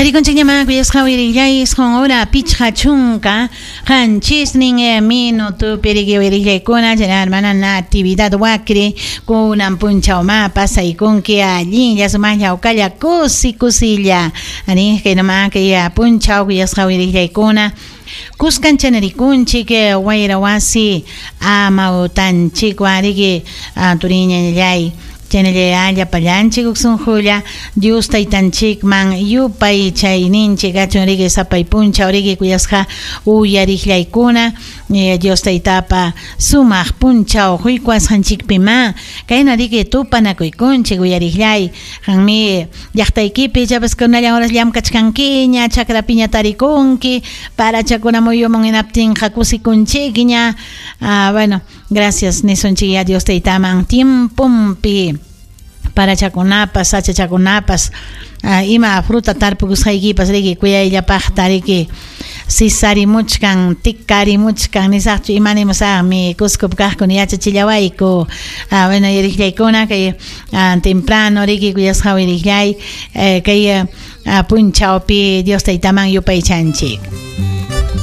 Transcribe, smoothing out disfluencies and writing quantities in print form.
Tarikunchikñamá kuyasqa uyarillay 9 hora 57 minutopi riki uyarillaykuna chayna hermana Natividad Huacri kunan punchawma pasaykunki allinlla sumaqlla hawkalla kusi kusilla arí kaynama kay punchaw kuyasqa uyarillaykuna kuskan chanarikunchik wayra wasi amawtanchikwan riki turiñallay chaynalla llapallanchik huk sunqulla Dios taytanchikman yupay chayninchik kachun riki sapay punchaw riki kuyasqa uyariqllaykuna Dios taytapa sumaq punchaw quykuwasqanchikpima kayna riki tupanakuykunchik uyariqllay qanmi llaqtaykipi ichapas kunallan horas llamkachkankiña chakrapiña tarikunki parachakuna muyumun hinaptinqa kusikunchikña bueno gracias nisunchik ya Dios taytaman tiemponpi parachakunapas sachachakunapas ima fruta tarpukusqaykipas riki kuyayllapaqta riki sisarimuchkan tikarimuchkan nisaqchu imanimusaqmi Cuscopi kaqkuna yachachillawayku bueno yuriqllaykuna kay temprano riki kuyasqa uyariqllay kay punchawpi Dios taytaman yupaychanchik.